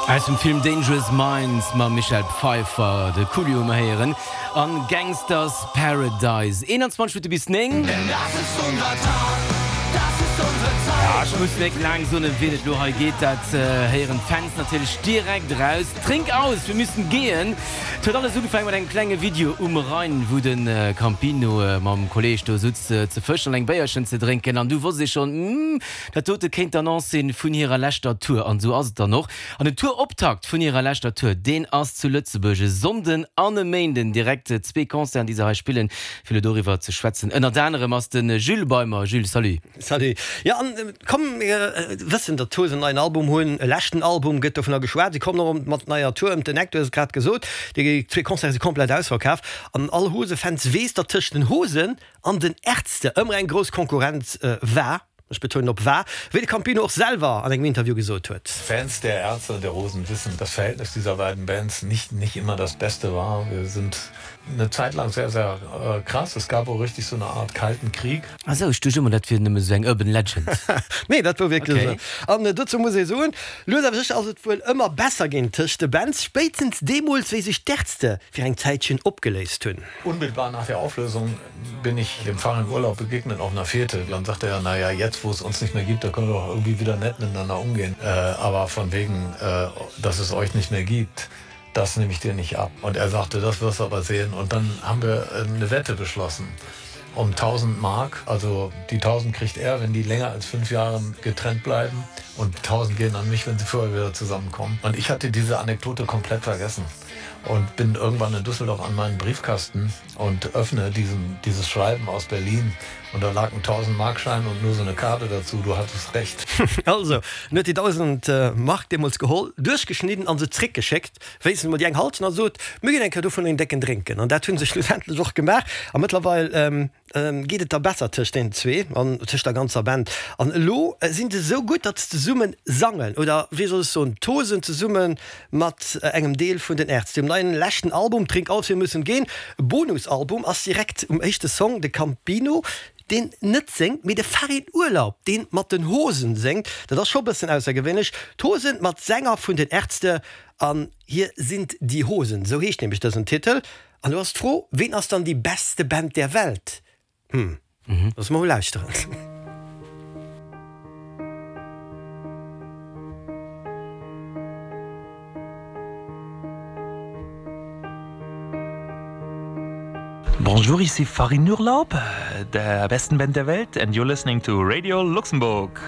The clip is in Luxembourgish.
Aus dem Film Dangerous Minds mam Michelle Pfeiffer, de Coolio hu mer héieren an Gangsta's Paradise. 21 Minutte bis 9. Ja, ech muss net laang soen, ëm wien et elo hei geet, dat héieren d'Fans natierlech direkt eraus. Trink aus, wir müssen gehen! Et huet alles ugefaangen mat engem klenge Video um Rhein, wou de Campino mam Kolleeg do sutz ze fëschen an eng Béierchen ze drénken. An du wosst ee schonn, Hm, dat dote kéint d'Annonce sinn vun hirer leschter Tour. An esou ass et dann och. An den Tour-Optakt vun hirer leschter Tour, deen ass zu Lëtzebuerg e Sonnden an e Méinden. Direkt zwee Concerten, déi se hei spillen. Fir elo doriwwer ze schwätzen, ënnert anerem ass de Jules bei mer. Jules, salut. Salut. Jo, an komm, mir wëssen, datt d'Hosen en neien Album hunn, e leschten Album, gëtt dovunner geschwat. Si kommen och mat neier Tour ëm den Eck, du hues et grad gesot. Déi zwee Concerte si komplett ausverkaf. An all Hose-Fans weess, datt tëscht den Hosen an den Ärzte ëmmer eng grouss Konkurrenz war, ech betounen op war, wéi de Campino och selwer an engem Interview gesot huet. Fans der Ärzte und der Hosen wissen, das Verhältnis dieser beiden Bands nicht nicht immer das Beste war. Wir sind eine Zeit lang sehr sehr krass, es gab auch richtig so eine Art kalten Krieg. Ah sou, ech duecht ëmmer dat wier nëmme sou eng urban legend. Nee, dat wor wierklech esou. An dozou muss ee soen, lues awer sécher ass et wuel ëmmer besser ginn tëscht de Bands, spéitstens deemools wéi sech d'Ärzte fir eng Zäitchen opgeléist hunn. Unmittelbar nach der Auflösung bin ich dem Farin Urlaub begegnet auf einer Fete. Dann sagte er, na ja, jetzt wo es uns nicht mehr gibt, da können wir doch irgendwie wieder nett miteinander umgehen. Aber von wegen, dass es euch nicht mehr gibt, das nehme ich dir nicht ab. Und er sagte, das wirst du aber sehen. Und dann haben wir eine Wette beschlossen um 1000 Mark. Also die 1000 kriegt er, wenn die länger als fünf Jahre getrennt bleiben. Und 1000 gehen an mich, wenn sie vorher wieder zusammenkommen. Und ich hatte diese Anekdote komplett vergessen und bin irgendwann in Düsseldorf an meinen Briefkasten und öffne diesen, dieses Schreiben aus Berlin und da lag ein 1000 Markschein und nur so eine Karte dazu, du hattest recht. Also, en huet déi 1000 Mark deemools geholl, duerchgeschnidden an se zréckgeschéckt, wéinstens emol déi eng Halschent, a sot, Mir ginn eng Kéier dovun een décken drénken. An dat hu se schlussendlech och gemaach. A mëttlerweil geet et da besser tëscht deenen zwee an tëscht der ganzer Band. An elo sinn se esou gutt, datt se zesumme sangen, oder wéi soll ech soen, tosen zesumme mat engem Deel vun den Ärzte. Um neien leschten Album Trink auf, wir müssen gehen, e Bonusalbum, ass direkt um éischte Song de Campino, deen net séngt, mee de Farin Urlaub, deen mat den Hosen séngt. Dat ass scho bëssen aussergewéinlech. D'Hosen mat Sänger vun den Ärzte an Hier sind die Hosen, sou heescht nämlech dësen Titel. An do ass d'Fro, Ween ass dann die beste Band der Welt? Hm, loosse mer mol lauschteren. Bonjour, ici Farin Urlaub, der besten Band der Welt and you're listening to Radio Luxembourg.